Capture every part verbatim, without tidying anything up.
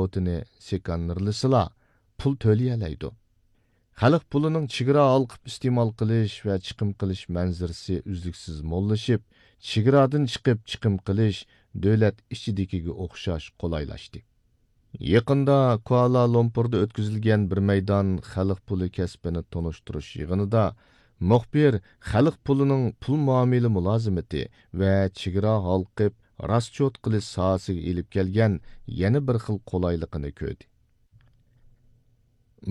راسچوتىنى سېكانىرلىسىلا، پۇل تۆلىيەلەيدۇ. خەلق پۇلىنىڭ چېگرا ھالقىپ ئىستېمال قىلىش ۋە چىقىم قىلىش مەنزىرىسى ئۈزلۈكسىز موللىشىپ، چېگرادىن چىقىپ چىقىم قىلىش دۆلەت ئىچىدىكىگە ئوخشاش قولايلاشتى. يېقىندا كۇئالا لۇمپۇردا ئۆتكۈزۈلگەن بىر مەيدان خەلق پۇلى كەسپىنى تونۇشتۇرۇش يىغىنىدا مۇخبىر خەلق پۇلىنىڭ پۇل مۇئامىلە مۇلازىمىتى ۋە چېگرا ھالقىپ راسچوت قىلىش ساھەسىگە ئېلىپ كەلگەن يەنە بىر خىل قولايلىقىنى كۆردى.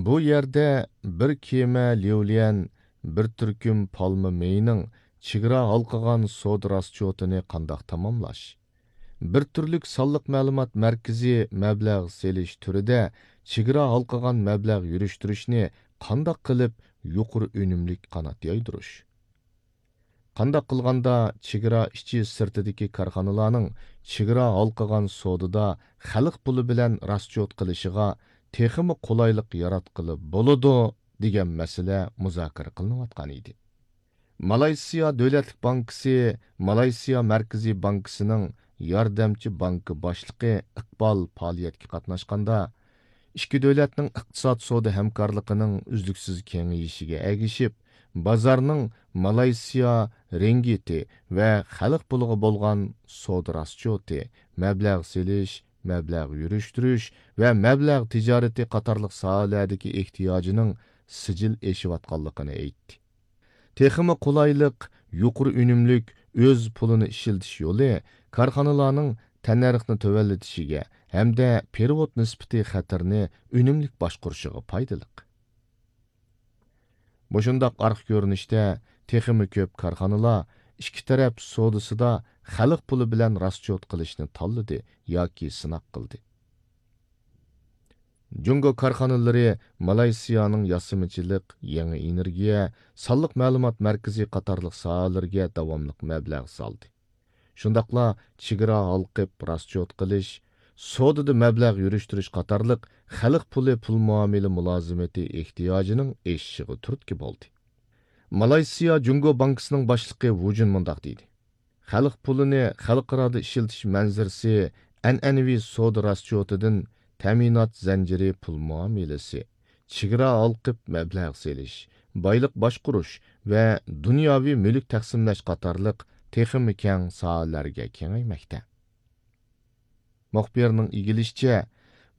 بۇ يەردە بىر كېمە ليۇليەن، بىر تۈركۈم پالما مېيىنىڭ چېگرا ھالقىغان سودا راسچوتىنى قانداق تاماملاش؟ بىر تۈرلۈك سانلىق مەلۇمات مەركىزى مەبلەغ سېلىش تۈرىدە چېگرا ھالقىغان مەبلەغ يۈرۈشتۈرۈشنى قانداق قىلىپ يۇقىرى ئۈنۈملۈك قانات يايدۇرۇش؟ قانداق قىلغاندا چېگرا ئىچى سىرتىدىكى كارخانىلارنىڭ چېگرا ھالقىغان سودىدا خەلق پۇلى بىلەن راسچوت قىلىشىغا تېخىمۇ قولايلىق ياراتقىلى بولىدۇ، دېگەن مەسىلە مۇزاكىرە قىلىنىۋاتقان ئىدى. مالايسىيا دۆلەتلىك بانكىسى مالايسىيا مەركىزىي بانكىسىنىڭ ياردەمچى بانكا باشلىقى ئىقبال پائالىيەتكە قاتناشقاندا، ئىككى دۆلەتنىڭ ئىقتىساد سودا ھەمكارلىقىنىڭ ئۈزلۈكسىز كېڭىيىشىگە ئەگىشىپ، بازارنىڭ مالايسىيا رىڭگىتى ۋە خەلق پۇلىغا بولغان سودا راسچوتى، مەبلەغ سېلىش، مەبلەغ يۈرۈشتۈرۈش ۋە مەبلەغ تىجارىتى قاتارلىق ساھەلەردىكى ئېھتىياجىنىڭ سىجىل ئېشىۋاتقانلىقىنى ئېيتتى. تېخىمۇ قولايلىق، يۇقىرى ئۈنۈملۈك ئۆز پۇلىنى ئىشلىتىش يولى كارخانىلارنىڭ تەننەرخنى تۆۋەنلىتىشىگە ھەمدە پېرېۋوت نىسبىتى خەتىرىنى ئۈنۈملۈك باشقۇرۇشىغا پايدىلىق. مۇشۇنداق ئارقا كۆرۈنۈشتە تېخىمۇ كۆپ كارخانىلار ئىككى تەرەپ سودىسىدا خەلق پۇلى بىلەن راسچوت قىلىشنى تاللىدى ياكى سىناق قىلدى. جۇڭگو كارخانىلىرى مالايسىيانىڭ ياسىمىچىلىق، يېڭى ئېنېرگىيە، سانلىق مەلۇمات مەركىزى قاتارلىق ساھەلىرىگە داۋاملىق مەبلەغ سالدى. شۇنداقلا چېگرا ھالقىپ راسچوت قىلىش، سودىدا مەبلەغ يۈرۈشتۈرۈش قاتارلىق خەلق پۇلى پۇل مۇئامىلە مۇلازىمىتى ئېھتىياجىنىڭ ئېشىشىغا تۈرتكە بولدى. مالايسىيا جۇڭگو بانكىسىنىڭ باشلىقى ۋۇ جۈن مۇنداق دېدى: خەلق پۇلىنى خەلقئارادا ئىشلىتىش مەنزىرىسى ئەنئەنىۋى سودا راسچوتىدىن تەمىنات زەنجىرى پۇل مۇئامىلىسى، چېگرا ھالقىپ مەبلەغ سېلىش، بايلىق باشقۇرۇش ۋە دۇنياۋى مۈلۈك تەقسىملەش قاتارلىق تېخىمۇ كەڭ ساھەلەرگە كېڭەيمەكتە. مۇخبىرنىڭ ئىگىلىشىچە،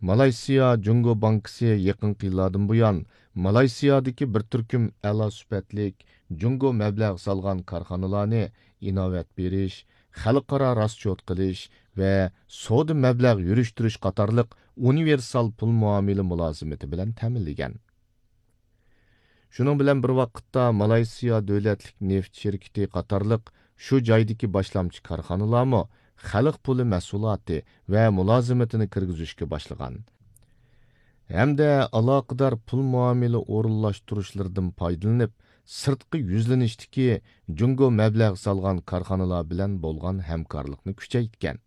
مالايسىيا جۇڭگو بانكىسى يېقىنقى يىللاردىن بۇيان مالايسىيادىكى بىر تۈركۈم ئەلا سۈپەتلىك جۇڭگو مەبلەغ سالغان كارخانىلارنى ئىناۋەت بېرىش، خەلقئارا راسچوت قىلىش ۋە سودا مەبلەغ يۈرۈشتۈرۈش قاتارلىق ئۇنىۋېرسال پۇل مۇئامىلە مۇلازىمىتى بىلەن تەمىنلىگەن. شۇنىڭ بىلەن بىر ۋاقىتتا، مالايسىيا دۆلەتلىك نېفىت شىركىتى قاتارلىق شۇ جايدىكى باشلامچى كارخانىلارمۇ خەلق پۇلى مەھسۇلاتى ۋە مۇلازىمىتىنى كىرگۈزۈشكە باشلىغان ھەمدە ئالاقىدار پۇل مۇئامىلە ئورۇنلاشتۇرۇشلىرىدىن پايدىلىنىپ، سىرتقى يۈزلىنىشتىكى جۇڭگو مەبلەغ سالغان كارخانىلار بىلەن بولغان ھەمكارلىقنى كۈچەيتكەن.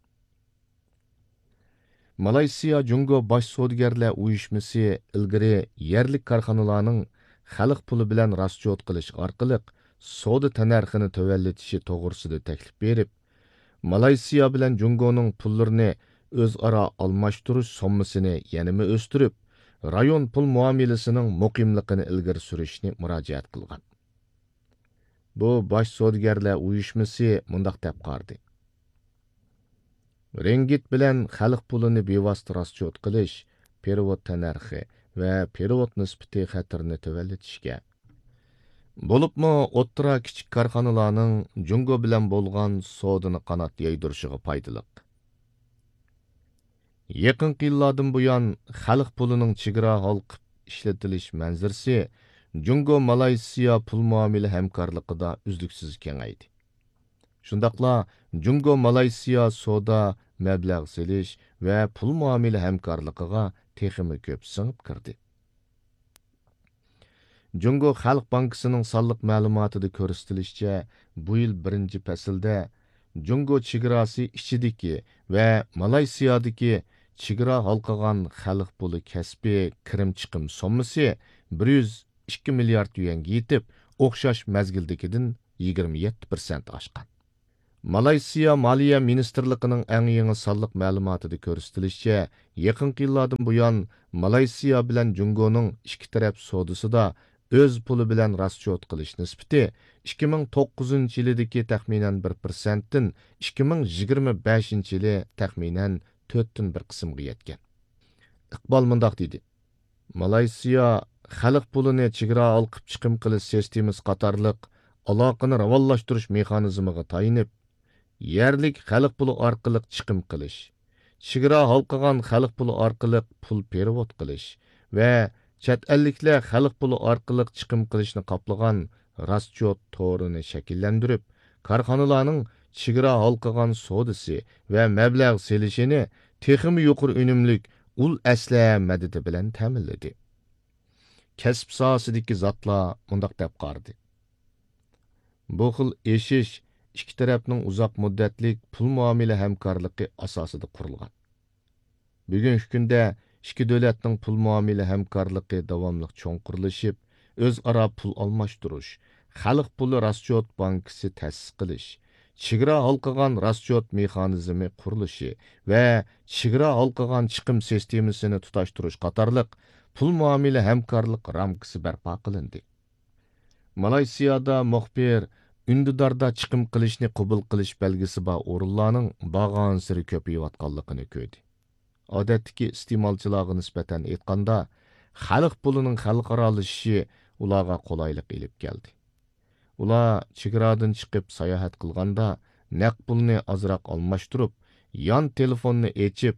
مالايسىيا جۇڭگو باش سودىگەرلەر ئۇيۇشمىسى ئىلگىرى يەرلىك كارخانىلارنىڭ خەلق پۇلى بىلەن راسچوت قىلىش ئارقىلىق سودا تەننەرخىنى تۆۋەنلىتىشى توغرىسىدا تەكلىپ بېرىپ، مالايسىيا بىلەن جۇڭگونىڭ پۇللىرىنى ئۆزئارا ئالماشتۇرۇش سوممىسىنى يەنىمۇ ئۆستۈرۈپ، رايون پۇل مۇئامىلىسىنىڭ مۇقىملىقىنى ئىلگىرى سۈرۈشنى مۇراجىئەت قىلغان. بۇ باش سودىگەرلەر ئۇيۇشمىسى مۇنداق دەپ قارىدى: رىڭگىت بىلەن خەلق پۇلىنى بىۋاسىتە راسچوت قىلىش، پېرېۋوت تەننەرخى ۋە پېرېۋوت نىسبىتى خەتىرىنى تۆۋەنلىتىشكە، بولۇپمۇ ئوتتۇرا، كىچىك كارخانىلارنىڭ جۇڭگو بىلەن بولغان سودىنى قانات يايدۇرۇشىغا پايدىلىق. يېقىنقى يىللاردىن بۇيان، خەلق پۇلىنىڭ چېگرا ھالقىپ ئىشلىتىلىش مەنزىرىسى جۇڭگو مالايسىيا پۇل مۇئامىلە ھەمكارلىقىدا ئۈزلۈكسىز كېڭەيدى. شۇنداقلا جۇڭگو مالايسىيا سودا، مەبلەغ سېلىش ۋە پۇل مۇئامىلە ھەمكارلىقىغا تېخىمۇ كۆپ سىڭىپ كىردى. جۇڭگو خەلق بانكىسىنىڭ سانلىق مەلۇماتىدا كۆرسىتىلىشىچە، بۇ يىل بىرىنچى پەسىلدە جۇڭگو چېگراسى ئىچىدىكى ۋە مالايسىيادىكى چېگرا ھالقىغان خەلق پۇلى كەسپى كىرىم چىقىم سوممىسى بىر يۈز ئىككى مىليارد يۈەنگە يېتىپ، ئوخشاش مەزگىلدىكىدىن يىگىرمە يەتتە پىرسەنت ئاشقان. مالايسىيا مالىيە مىنىستىرلىقىنىڭ ئەڭ يېڭى سانلىق مەلۇماتىدا كۆرسىتىلىشىچە، يېقىنقى يىللاردىن بۇيان مالايسىيا بىلەن جۇڭگونىڭ ئىككى تەرەپ سودىسىدا ئۆز پۇلى بىلەن راسچوت قىلىش نىسبىتى ئىككى مىڭ توققۇزىنچى يىلىدىكى تەخمىنەن بىر پىرسەنتتىن ئىككى مىڭ يىگىرمە بەشىنچى يىلى تەخمىنەن تۆتتىن بىر قىسىمغا يەتكەن. ئىقبال مۇنداق دېدى: مالايسىيا خەلق پۇلىنى چېگرا ھالقىپ چىقىم قىلىش سىستېمىسى قاتارلىق ئالاقىنى راۋانلاشتۇرۇش مېخانىزمىغا تايىنىپ، يەرلىك خەلق پۇلى ئارقىلىق چىقىم قىلىش، چېگرا ھالقىغان خەلق پۇلى ئارقىلىق پۇل پېرېۋوت قىلىش ۋە چەت ئەللىكلەر خەلق پۇلى ئارقىلىق چىقىم قىلىشنى قاپلىغان راسچوت تورىنى شەكىللەندۈرۈپ، كارخانىلارنىڭ چېگرا ھالقىغان سودىسى ۋە مەبلەغ سېلىشىنى تېخىمۇ يۇقىرى ئۈنۈملۈك ئۇل ئەسلىھە مەدىتى بىلەن تەمىنلىدى. كەسىپ ساھەسىدىكى زاتلار مۇنداق دەپ قارىدى: بۇ خىل ئېشىش ئىككى تەرەپنىڭ ئۇزاق مۇددەتلىك پۇل مۇئامىلە ھەمكارلىقى ئاساسىدا قۇرۇلغان. بۈگۈنكى كۈندە ئىككى دۆلەتنىڭ پۇل مۇئامىلە ھەمكارلىقى داۋاملىق چوڭقۇرلىشىپ، ئۆزئارا پۇل ئالماشتۇرۇش، خەلق پۇلى راسچوت بانكىسى تەسىس قىلىش، چېگرا ھالقىغان راسچوت مېخانىزمى قۇرۇلۇشى ۋە چېگرا ھالقىغان چىقىم سىستېمىسىنى تۇتاشتۇرۇش قاتارلىق پۇل مۇئامىلە ھەمكارلىق رامكىسى بەرپا قىلىندى. مالايسىيادا مۇخبىر ئۈندىداردا چىقىم قىلىشنى قوبۇل قىلىش بەلگىسى بار ئورۇنلارنىڭ بارغانسېرى كۆپىيىۋاتقانلىقىنى كۆردى. ئادەتتىكى ئىستېمالچىلارغا نىسبەتەن ئېيتقاندا، خەلق پۇلىنىڭ خەلقئارالىشىشى ئۇلارغا قولايلىق ئېلىپ كەلدى. ئۇلار چېگرادىن چىقىپ ساياھەت قىلغاندا، نەق پۇلنى ئازراق ئالماشتۇرۇپ، يان تېلېفوننى ئېچىپ،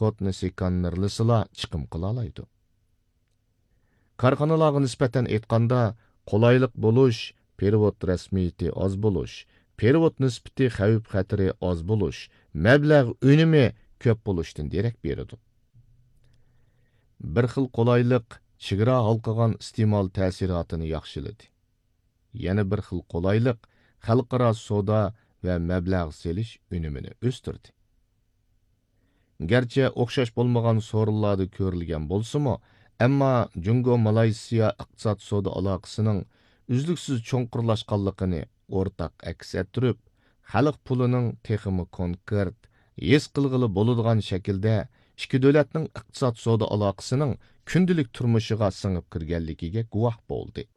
كودنى سىكاننېرلىسىلا چىقىم قىلالايدۇ. كارخانىلارغا نىسبەتەن ئېيتقاندا، قولايلىق بولۇش، پېرېۋوت رەسمىيىتى ئاز بولۇش، پېرېۋوت نىسبىتى خەۋپ خەتىرى ئاز بولۇش، مەبلەغ ئۈنۈمى كۆپ بولۇشتىن دېرەك بېرىدۇ. بىر خىل قولايلىق چېگرا ھالقىغان ئىستېمال تەسىراتىنى ياخشىلىدى. يەنە بىر خىل قولايلىق خەلقئارا سودا ۋە مەبلەغ سېلىش ئۈنۈمىنى ئۆستۈردى. گەرچە ئوخشاش بولمىغان سورۇنلاردا كۆرۈلگەن بولسىمۇ، ئەمما جۇڭگو مالايسىيا ئىقتىساد سودا ئالاقىسىنىڭ ئۈزلۈكسىز چوڭقۇرلاشقانلىقىنى ئورتاق ئەكس ئەتتۈرۈپ، خەلق پۇلىنىڭ تېخىمۇ كونكرېت، ھېس قىلغىلى بولىدىغان شەكىلدە ئىككى دۆلەتنىڭ ئىقتىساد سودا ئالاقىسىنىڭ كۈندىلىك تۇرمۇشىغا سىڭىپ كىرگەنلىكىگە گۇۋاھ بولدى.